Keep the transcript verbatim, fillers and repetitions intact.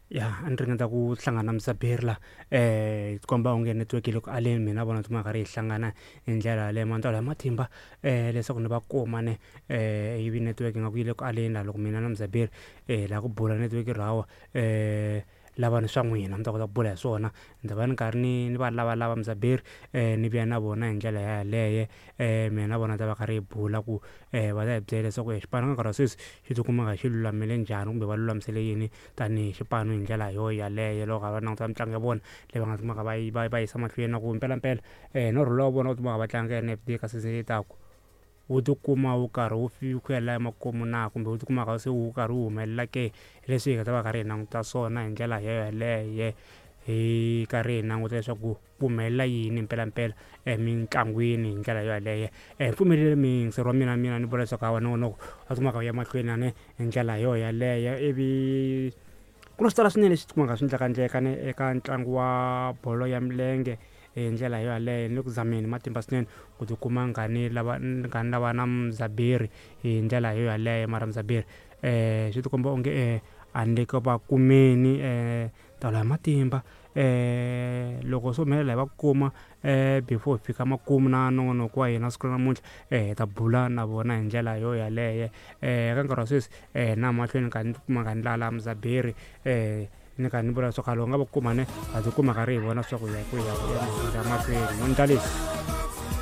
Ya, a ni ringeta ku hlangana na Mzaberi la um komba onge network yi le ku aleni. Mina vona tikuma karhi hi hlangana hi ndlela yaleyo mantswalo ya matimba um leswaku ni va kuma ne um ivi network ingaku yi le ku aleni laha loko mina na Mzaberi hi lava ku bula network ri hawa um lava ni swa n'wina mi ta kota ku bula hi swona. Ni ta va ni karhi ni ni va lavalava Mzaberi um ni vuya na vona hi ndlela yaleyo um mina na vona ta va karhi hi bula ku um va ta hi byela leswaku xipano ka nkarhi wa sweswi xi tikuma kha xi lulamile njhani kumbe va lulamisele yini tanihi xipano hi ndlela yo yaleyo loko va languta mitlangu ya vona leyi va nga kumaka va yi va va yisa mahlweni na ku mpelampela um norho lowa vona wu kumaka va tlanga N F D ka season leyi taka wu tikuma wu karhi wu ku ya la emakumu na kumbe wu tikumaka se wu karhi wu humelela ke, leswi hi nga ta va karhi hi languta swona hi ndlela yeleyo hi karhi hi languta leswaku ku humelela yini mpelampela emitlangwini hi ndlela yoyaleyo. Pfumeleli muyingiseri wa mina mina ni vula leswaku hawa nongonoko a kumaka wu ya mahlweni ni hi ndlela yo yaleyo. Ivi ku na swo tala swinene leswi tikumaka swi endlekaendleka ni eka ntlangu wa bolo ya milenge hi ndlela yo yaleyo. Ni le ku zameni matimba swinene ku tikuma ni kha ni lava ni kha ni lava na Mzaberi hi ndlela yo yaleyo, mara Mzaberi um swi tikomba onge a ni le ku va kumeni um tolo hi matimba um loko swo humelela hi va kuma um before hi fika makumu na nongonoko wa hina siku ra namuntlha um hi ta bula na vona hi ndlela yo yaleyo. Um ka nkarhi wa sweswi um na mahlweni ni kha ni tikuma kha ni lala Mzaberi um ni kha ni vula leswaku loko nga va kuma ne ha tikuma karhi hi vona swa ku ya ku ya ku ya mahlweni mo ndla leswi.